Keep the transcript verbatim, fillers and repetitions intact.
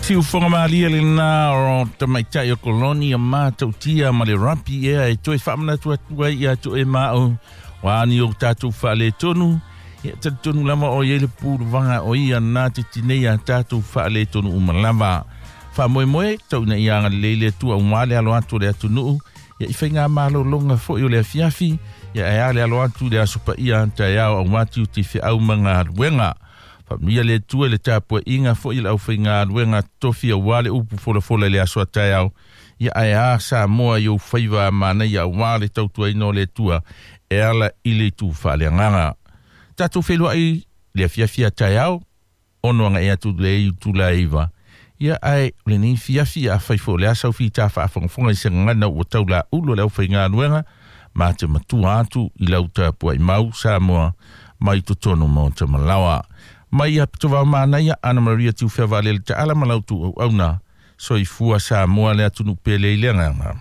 Siufoga malie lena o tamaitai o koloni a matautia ma le rapi ea e toe faamanatu atu ai ia toe maau ua ni o tatou faaletonu. Ia talitonu lava o iai le puluvaga o ia na te tinei a tatou faaletonu uma lava. Faamoemoe tau ina ia agalelei le Atua aua le alo atu o le atunuu ia i faiga malologa foi o le afiafi, ia ae a le alo atu i le aso paia taeao aua tiute feau ma galuega. Faamanuia le Atua i le tapuaiga foi i le aufaigaluega totofi aua le upu folafola i le aso a taeao, ia ae a Samoa i ou faiva manaia aua le tautuaina o le Atua e ala i le itu faaleagaga. Tatou feiloai le afiafi a taeao ono aga'i atu le itula e iva. Ia ae o lenei fiafi afai foi o le asa ufitā faafogafoga i se gagana ua taulaulu o le aufaigaluega ma te matua atu i lau tapuai mau Samoa mai totonu maota malaoa. Mai ia pitovao manaia Ana Maria Tiufea Vaalele Taala ma lau tuuauauna. Soifua Samoa le atunuu pele i le agaga.